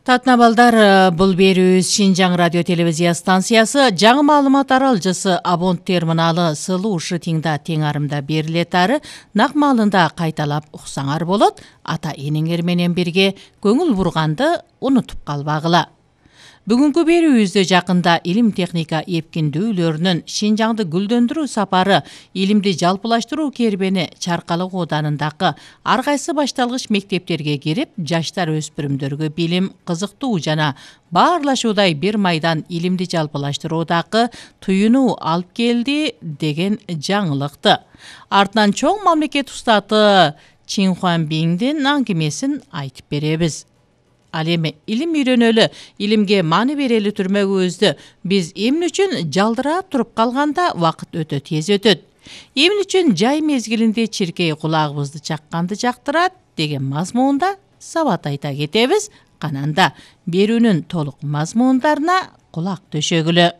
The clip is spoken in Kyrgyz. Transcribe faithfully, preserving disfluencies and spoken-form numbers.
Татна балдар, бул берүүбүз Шинжаң радио телевизия станциясы жаңы маалымат аралжысы Абонт терминалы сылуу шытиңда тең арымда берилет ары нак маалында кайталап уксаңар болот. Ата энеңер менен бирге көңүл бурганды унутуп калбагыла. Бүгүнкү берүүбүздө жакында илим техника эпкиндүүлөрүнүн Шинжаңды гүлдөндүрүү сапары илимди жалпылаштыруу кербени Чаркалык ооданындагы ар кайсы башталгыч мектептерге кирип, жаштар өспүрүмдөргө билим, кызыктуу жана баарлашуудай бир майдан илимди жалпылаштыруудагы туюнуу алып келди деген жаңылыкты. Артынан чоң мамлекет устаты Чин Хуанбиңдин аңгемесин айтып беребиз. Ал эми илим үйрөнөлү, илимге маани берели түрмөгүбүздү биз эмне үчүн жалдырап туруп калганда вакыт өтө тез өтөт? Эмне үчүн жай мезгилинде чиркей кулагыбызды чакканды жактырат деген мазмунда сабат айта кетебиз. Кананда берүүнүн толук мазмундарына кулак төшөгүлө.